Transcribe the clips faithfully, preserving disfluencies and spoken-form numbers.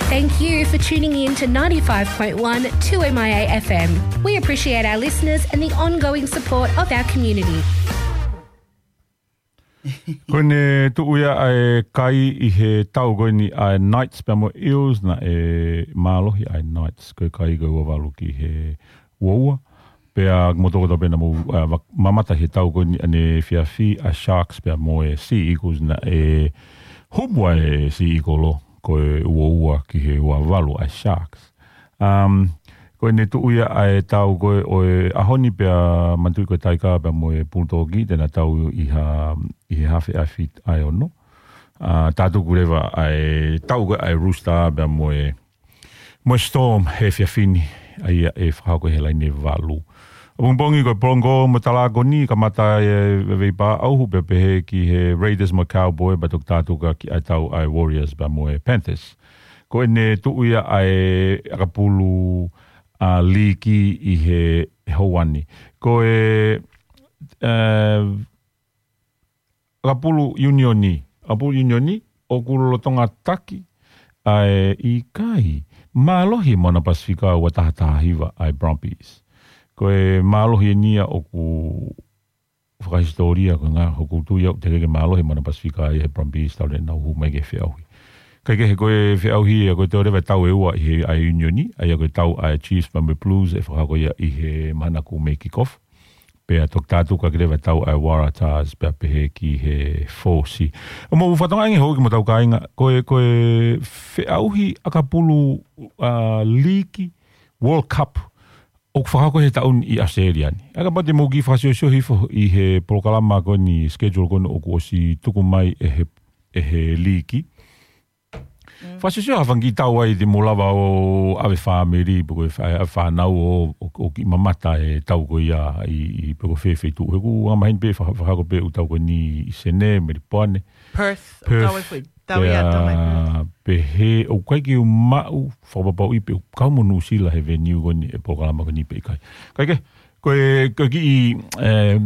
Thank you for tuning in to ninety-five point one two M I A F M. We appreciate our listeners and the ongoing support of our community. Ko ʻene tuʻu ia ʻa e kai ʻi he tau ko eni ʻa e Knights pea mo e Eels, naʻe mālohi ʻa e Knights. Ko e kai ko e ua valu ki he ua ua. Pea mo toko tau pena mo, ʻa, va-, mamata he tau ko eni ʻanefiafi ʻa e Sharks pea mo e Sea Eagles, naʻe humu ʻa e Sea Eagle ʻo ko e ua ua ki he ua valu ʻa e Sharks. Um, ko ʻene tuʻu ia ʻa e tau ko ē ʻo e ʻaho ni pea manatuʻi ko e Taika pea mo e Bulldog te na tau ʻi ha, ʻi he hafe ʻa e fiti ʻa e ono. Uh, tātuku leva ʻa e tau ko ē ʻa e Rooster pea mo e mo e Storm he efiafi ni, ʻa ia ʻe fakahoko he laine valu. ʻApongipongi ko e Polongo mo Talakoni, kamata e vevei pā ʻauhu pea pehē ki he Raiders mo Cowboy, pea toki tātuku ki ʻa e tau ʻa e Warriors pea mo e Panthers. Ko ʻene tuʻu ia ʻa e ʻakapulu ʻa e liiki ʻi he houa ni. Ko e, eh, ʻakapulu ʻiunioni, ʻakapulu ʻiunioni, ʻoku lolotonga taki, ʻa e ʻikai, mālohi Moana Pasifika ua taha taha hiva ʻa e Brumbies. Ko e mālohi eni ia ʻoku fakahisitōlia ko e ngaahi hoku tui au te ke mālohi Moana Pasifika ʻa e Brumbies tau le nau hū mai ke feʻauhi. Kaikehe ko e feʻauhi ia ko e tau leva tau ʻe ua ʻi he ʻa e ʻiunioni, ʻa ia ko e tau ʻa e Chiefs pea mo e Blues ʻe fakahoko ia ʻi he mahana kuo mei kick off. Pea toki tātuku ʻaki leva tau ʻa e Waratahs pea pehē ki he Fōsi. ʻO mo fatonga ange hou ki mo tau kāinga, ko e, ko e feʻauhi ʻakapulu, ʻa, liiki World Cup, ʻoku fakahoko he taʻu ni ʻi ʻAositelēlia ni. ʻA ia kapau te mou kiʻi fakasiosio hifo ʻi he polokalama ko eni schedule ko eni ʻoku ʻosi tuku mai ʻe he, ʻe he liiki. Fakasiosio ha fanga kiʻi tau ai te mou lava ʻo ʻave fāmili, pe ko e fa-, ʻave fānau ʻo, ʻo, ʻo kiʻi mamata he tau ko ia ʻi, ʻi pe ko fē feituʻu. He ʻoku anga maheni pē fa-, fakahoko pē ʻū tau ko eni ʻi Senē, Melipoane. Perth, ʻo Perth, kau ai foʻi tau ia pea, Tonga ʻi Perth. Pehē, ʻoku ʻikai ke u maʻu fakapapauʻi pe ʻoku kau mo Nuʻusila he venue ko eni ʻe polokalama ko eni pe ʻikai. Kaikehe, ko e, ko e kiʻi, eh,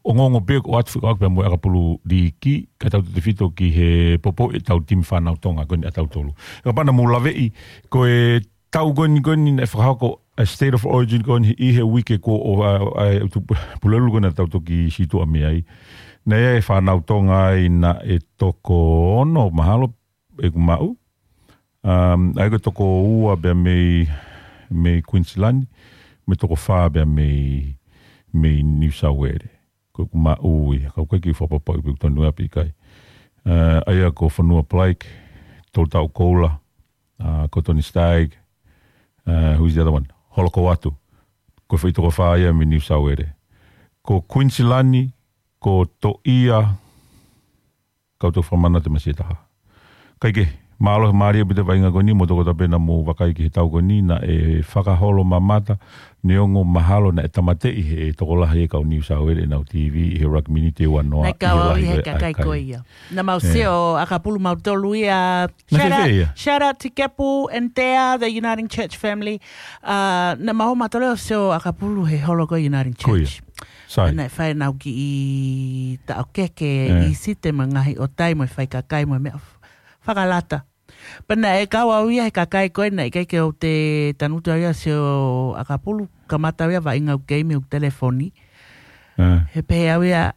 ongoongo pē ʻoku ʻoatu fekauʻaki pea mo e ʻakapulu liiki, ka tau tefito ki he poupou ʻetau timi fānau Tonga ko eni ʻa tautolu. Kapau naʻa mou laveʻi, ko e tau ko eni ko eni naʻe fakahoko ʻa e State of Origin ko eni ʻi he uike ko ē ʻo, ʻa, ʻa, ʻa, tu-, Pulelulu ko eni naʻa tau toki sītuʻa mei ai. Naʻe ʻi ai e fānau Tonga ai naʻe toko ono mahalo ʻeku maʻu. Um, ʻa ia ko e toko ua pea mei, mei Queensland, mo e toko fā pea mei, mei New South Wales. Ko ʻeku maʻu ia, ka ʻoku ʻikai ke u fakapapauʻi pe ʻoku tonu ia pe ʻikai. Uh, ʻa ia ko Fonua Blake, Tolutau Koula, uh, ko Tony Stagg, uh, who's the other one? Holokoatu. Ko e foʻi toko fā ia mei New South Wales. Ko Queensland, ko Toʻia, kau tau fakamanatu masiʻi ʻe taha. Kaikehe, mālō he mālie pē ʻa e vaʻinga ko eni, mo toko tau pena mo vakai ki he tau ko eni, naʻe fakaholo mamata, neongo mahalo naʻe tāmateʻi he tokolahi e kau New South Wales ʻenau T V, ʻi he rugby ni te ua noa, Naʻe kau ʻi he au lahi ʻi he ko ē ʻa e kakai ko kai. Ia. Naʻa mau Eh. sio, ʻakapulu mautolu ia. Naʻe Shout out, fēfē ia? Shout out to Kepu and Tea, the Uniting Church family. Uh, naʻa mau mautolu ʻo sio ʻakapulu he holo ko e Uniting Ko ia. Church. Sai. Naʻe fai ʻenau kiʻi taʻokeke Eh. ʻi Site mo e ngaahi ʻotai mo e fai kakai mo e meʻa f-, fakalata. Pea naʻe kau au ia he kakai ko ē naʻe ʻikai ke u te tanutu au ia sio ʻakapulu, kamata au ia vaʻinga au keimi ʻeku telefoni. Eh. He pehē au ia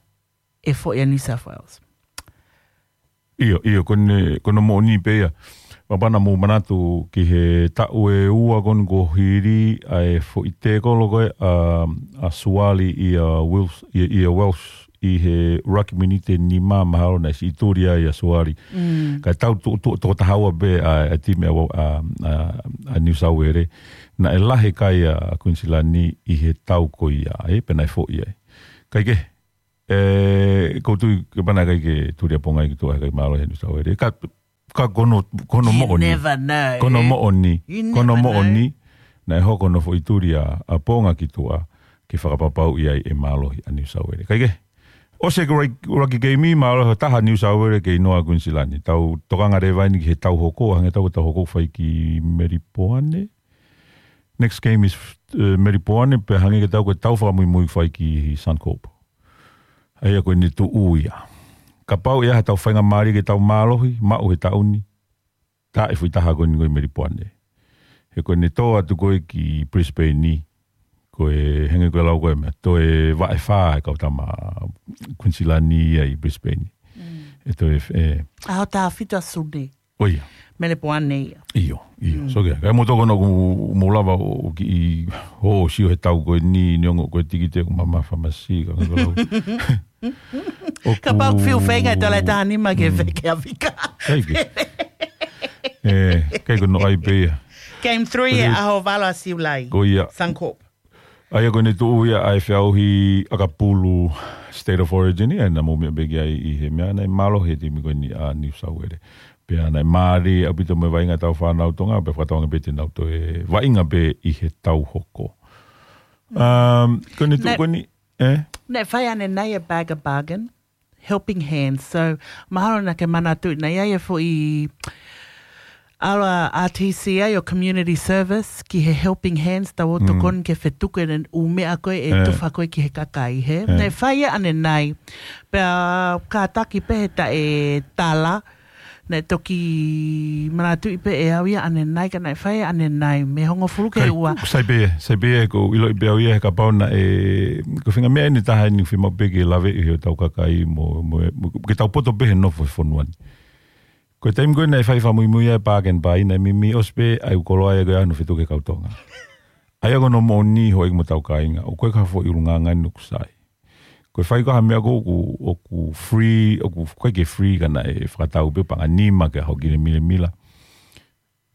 ʻe foʻi ʻa New South Wales. ʻIo, ʻio, ko ʻene, ko hono moʻoni pē ia. Kapau naʻa mou manatu ki he taʻu ʻe ua ko eni kuo hili ʻa e foʻi tēkolo ko ē ʻa, ʻa Suaalii ʻia Welsh, ʻia, ʻia Welsh ʻi he raki miniti ʻe nima mahalo naʻe siʻi tuli ai ʻa Suaalii. Mm. Ka tau tu-, tu-, toko taha ua pē ʻa, ʻa e timi ʻa, ʻa, ʻa, ʻa New South Wales. Naʻe lahi kai ʻa Queensland ʻi he tau ko ia, ē, pea naʻe foʻi ai. Kaikehe, ʻE, ʻoku ou tui kapau naʻe ʻikai ke tuli ʻaponga ia ki tuʻa he ʻikai mālō he New South Wales. Ka, ka ko hono, ko hono You moʻoni. never know, Ko hono eh? moʻoni. You Ko hono never know. moʻoni. Naʻe hoko hono foʻi tuli ʻaponga ki tuʻa ke fakapapauʻi ai ʻe mālohi ʻa New South Wales. Kaikehe, ʻosi e raki, raki keimi, mālō he taha New South Wales kei noa Queensland. Tau tokanga leva eni ki he tau hoko, hangē tau ko e tau hoko fai ki Melipoane. Next game is, uh, Melipoane, pea hangē ke tau ko e tau fakamuimui fai ki Suncorp. ʻA ia ko ʻene tuʻu ia. Kapau ʻe ʻi ai ha tau faingamālie ke tau mālohi, maʻu he taʻu ni. tā e foʻi taha ko eni ko e Melipoane. He ko ʻene tō atu ko ē ki Brisbane, ko e hangē ko e lau ko ē meʻa, toe vaʻe fā e kau tama Queensland ia ʻi Brisbane. ʻE toe, ʻe, ʻAho taha fitu ʻa Sune. ʻO ia. Melipoane ia. ʻIo, ʻio. So, ke, kae mou tokoni ʻoku mou lava ʻo, ʻo kiʻi, ʻo sio he tau ko eni, neongo ko e tikite ʻoku mamafa masi, ka ko e lau. Kapau ʻoku fiu feinga e tala e taha nima ke feke a fika. Kai ke. ʻE, kai ko no ai pē ia. Game three e ʻaho valu ʻa Siulai. Ko ia. Suncorp. ʻA ia ko ʻene tuʻu ia ʻa e feʻauhi ʻakapulu State of Origin ia, naʻa mou meʻa pē ki ai ʻi he meʻa naʻe mālohi he timi ko eni ʻa New South Wales. Pea naʻe mālie ʻaupito mo e vaʻinga ʻetau fānau Tonga, pea fakatauange pē te nau toe vaʻinga pē ʻi he tau hoko. Um, ko ʻene tuʻu ko eni, ʻE? Naʻe fai ʻanenai e Bag a Bargain, Helping Hands. So, mahalo naʻa ke manatuʻi, naʻe ʻi ai e foʻi ʻalu ʻa R T C A ʻo community service ki he Helping Hands, tau ō tokoni ke fetuku e ʻū meʻa ko ē ʻe tufa ko ē ki he kakai, he? Naʻe fai ia ʻanenai. Pea kātaki pē he taʻetala, naʻe toki manatuʻi pē ʻe au ia ʻanenai, ka naʻe fai ʻanenai, mei he hongofulu ki he ua. Sai pē, sai pē, ʻoku ou ʻiloʻi pē au ia he kapau naʻe, ko e faʻahinga meʻa ʻeni ʻe taha ʻeni ʻoku fiemaʻu pē ke laveʻi ʻe hotau kakai mo, mo, mo, ke tau poto pē he nofo he fonua ni. Ko e taimi ko ē naʻe fai fakamuimui ai e Bark and Buy, naʻe mimi ʻosi pē ʻa e ʻū koloa ia ko ē ʻa hono fetuku ki he kau Tonga. ʻA ia ko hono moʻoni houʻeiki mo hotau kāinga, ʻoku ʻikai ko ha foʻi ʻulungaanga ʻeni ʻoku sai. Ko e fai ko ē ha meʻa ko ē ʻoku, ʻoku free, ʻoku ʻikai ke free ka naʻe fakatau pē paʻanga ʻe nima ke ʻaho ki he milemila.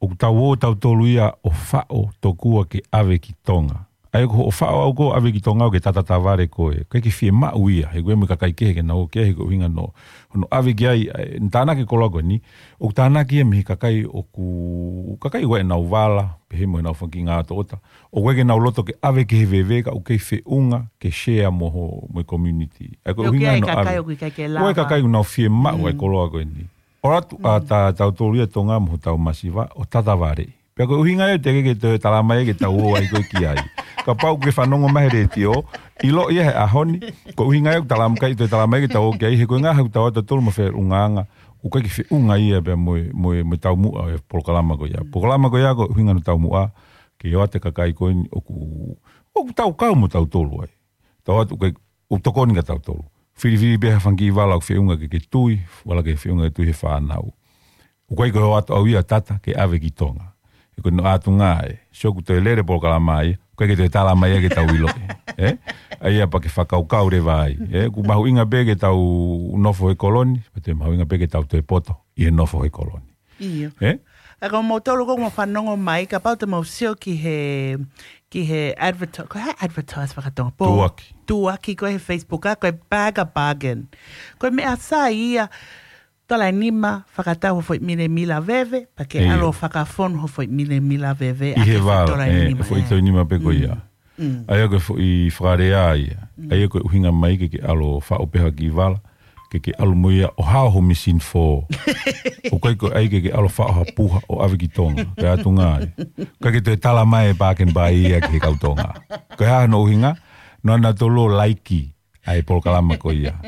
ʻOku tau ō tautolu ia ʻo faʻo tokua ke ʻave ki Tonga. ʻA ia ko hoʻo faʻo ʻaʻau ko ē ʻave ki Tonga ʻoku ke tatavale koe. ʻIkai ke fiemaʻu ia, he ko e meʻa kakai kehe ke nau ō ki ai he ko e ʻuhinga hono, hono ʻave ki ai, ʻa e, ʻene tānaki e koloa ko eni, ʻoku tānaki ia mei he kakai ʻoku, kakai ʻoku ʻi ai ʻenau vala, pehē mo ʻenau fanga kiʻi ngātoʻota. ʻOku ʻikai ke nau loto ke ʻave ki he veve ka ʻoku kei feʻunga ke share mo ho, mo e community. ʻA ia ko e ʻuhinga hono ʻave. Ko e kakai ʻoku nau fiemaʻu ʻa e koloa ko eni. ʻOatu ʻa tautolu ia Tonga mo hotau masiva ʻo tatavale. Pea ko e ʻuhinga ia ʻoku teʻeki ke toe talamai ke tau ō ai ko ē ki ai. Kapau ʻoku ke fanongo mai he letiō, ʻilo ia he ʻaho ni, ko e ʻuhinga ia ʻoku talamai, toe talamai ke tau ō ki ai, he ko e ʻuhinga he ʻoku tau ō tautolu mo e feʻungaʻanga, ʻoku ʻikai ke feʻunga ia pea mo e, mo e, mo e taumuʻa e polokalama ko ia. Polokalama ko ia ko e ʻuhinga hono taumuʻa, ke ʻoatu e kakai ko eni ʻoku, ʻoku tau kau mo tautolu ai. Tau ō atu ke, ʻoku tokoni kia tautolu. Filifili pē ha fanga kiʻi vala ʻoku feʻunga ke ke tui, vala ke feʻunga ke tui he fānau. ʻOku ʻikai ko e ō atu au ia tata ke ʻave ki Tonga. He ko hono ʻatunga ē, sio ʻoku toe lele polokalama ia, ʻoku ʻikai ke toe talamai ia ke tau ʻilo. ʻE? ʻA ia pea ke fakakaukau leva ai. ʻE? ʻOku mahuʻinga pē ke tau nofo he kolo ni, pea toe mahuʻinga pē ke tau toe poto ʻi he nofo he kolo ni. ʻIo. ʻE? ʻA ia ko moutolu ʻoku mou fanongo mai, kapau te mou sio ki he, ki he adverti-, ko e hā e advertise fakatonga? Tuʻuaki. Tuʻuaki ko ē he Facebook, ʻa ia ko e Bag a Bargain. Ko e meʻa sai ia, tola ʻe nima, fakatau ho foʻi milemila veve, pea ke ʻalu ʻo fakafonu ho foʻi milemila veve, ʻi he vala, tola ʻe nima, foʻi tola ʻe nima pē ko ia. ʻA ia ko e foʻi fakalea ia. ʻA ia ko e ʻuhinga mai ke ke ʻalu ʻo faʻo pē ha kiʻi vala, ke ke ʻalu mo ia ʻo hao ho misini fō. ʻOku ʻikai ko e ʻai ke ke ʻalu ʻo faʻo ha puha ʻo ʻave ki Tonga. Ko e ʻatunga ē. ʻIkai ke toe talamai e Bark and Buy ia ki he kau Tonga. Ko e hā hono ʻuhinga, naʻa nau toe laiki ʻa e polokalama ko ia.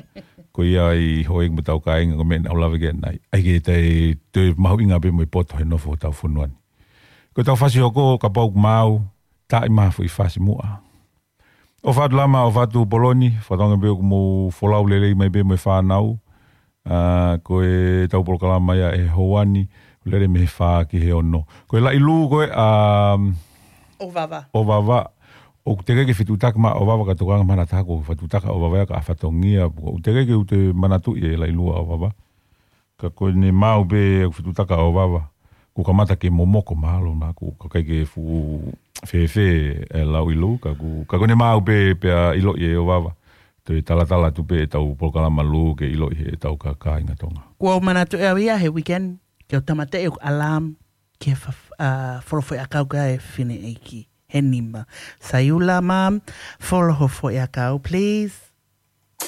Ko ia ʻi houʻeiki mo hotau kāinga ko e meʻa naʻa ku lave ki ai ʻanenai. ʻIkai ke toe, toe mahuʻinga pē mo e poto he nofo hotau fonua ni. Ko ʻetau fasi hoko, kapau ʻoku maau, tā mai ha foʻi fasi muʻa. ʻOfa atu Lama, ʻofa atu Poloni, fakatauange pē ʻoku mou folau lelei mai pē mo e fānau. ʻA, ko ʻetau polokalama ia he houa ni, lele mei he fā ki he ono. Ko e Laʻilū ko ē, ʻa, ʻOvava. ʻOvava. ʻOku teʻeki ke fetuʻutaki mai ʻOvava ka tokanga mai ha taha ʻoku fetuʻutaki ʻOvava ia kae fatongia. ʻOku teʻeki ke u toe manatuʻi e Laʻilū ʻa ʻOvava. Ka ko ʻene maau pē ʻoku fetuʻutaki ʻOvava. Kuo kamata ke momoko mahalo na, kuo ʻikai ke fuʻu fēfē e Laʻilū, ka kuo, ka ko ʻene maau pē pea ʻiloʻi ʻe ʻOvava. Toe talatala atu pē ʻetau polokalama Lū ke ʻiloʻi ʻe heʻetau kāinga Tonga. Kuo u manatuʻi au ia he weekend, ke u tāmateʻi ʻeku alarm, ke fa-, ʻa, folo foʻi ʻakau kia e fineʻeiki. He nima. Saiula, Mum, folo ho foʻi ʻakau, please.